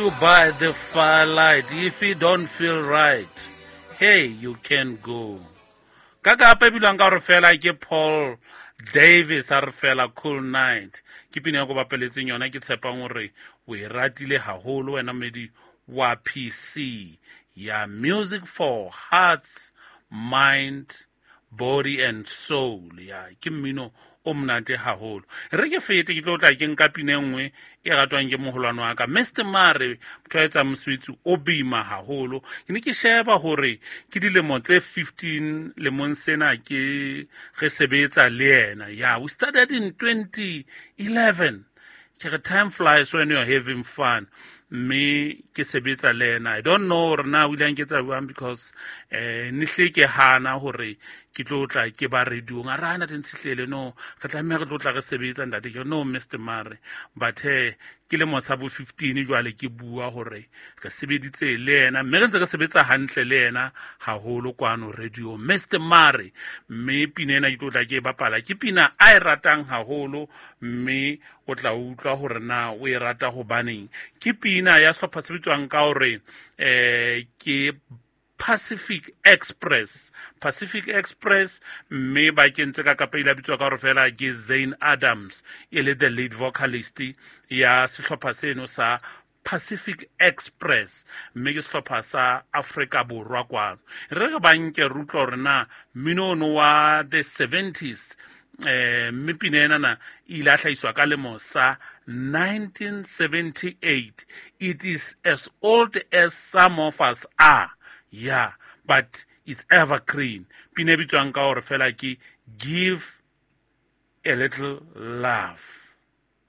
You by the firelight, if you don't feel right, hey, you can go. Ka kapa e bilwang ka gore fela ke Paul Davis a re fela Cool Night. Ke pina ya ko bapeletseng yona, ke tshepang gore o e ratile haholo wena medi wa PC ya Music for Hearts, Mind, Body and Soul. Ya ke mmino o monate haholo. Re ke fete ke tlo tla ke nka pina e nngwe e ratwang ke moholwane wa ka Mr Mare, motho a etsang mosebetsi o boima haholo. Ke ne ke sheba hore ke dilemo tse 15 lemong sena ke re sebetsa le yena. Ya, we started in 2011. Ke re time flies when you're having fun. Mme ke sebetsa le ena. I don't know hore na o ile a nketsa jwang, because ne hle ke hana hore ke tlo tla ke ba radiong. A re hana Ntshihlele, no, re tlameha re tlo tla re sebetsa ntate. Ke re, no Mr Mare, but he ke lemo sa bo 15 jwale ke bua hore re sebeditse le yena, mme re ntse re sebetsa hantle le yena haholo kwano radio Mr Mare. Mme pina ena ke tlo tla ke e bapala, ke pina a e ratang haholo, mme o tla utlwa hore na o e rata hobaneng. Ke pina ya sehlopha se bitswang ka hore ke Pacific Express. Pacific Express, mme ba kentse ka kapa ile a bitswa ka hore fela ke Zane Adams, e le the lead vocalist ya sehlopha seno sa Pacific Express, mme ke sehlopha sa Afrika Borwa kwano. Re re ba nke re utlwa hore na mmino ono wa the 70s, mme pina enana e ile a hlahiswa ka lemo sa 1978. It is as old as some of us are, yeah, but it's evergreen. Pina e bitswang ka hore fela ke Give a Little Love.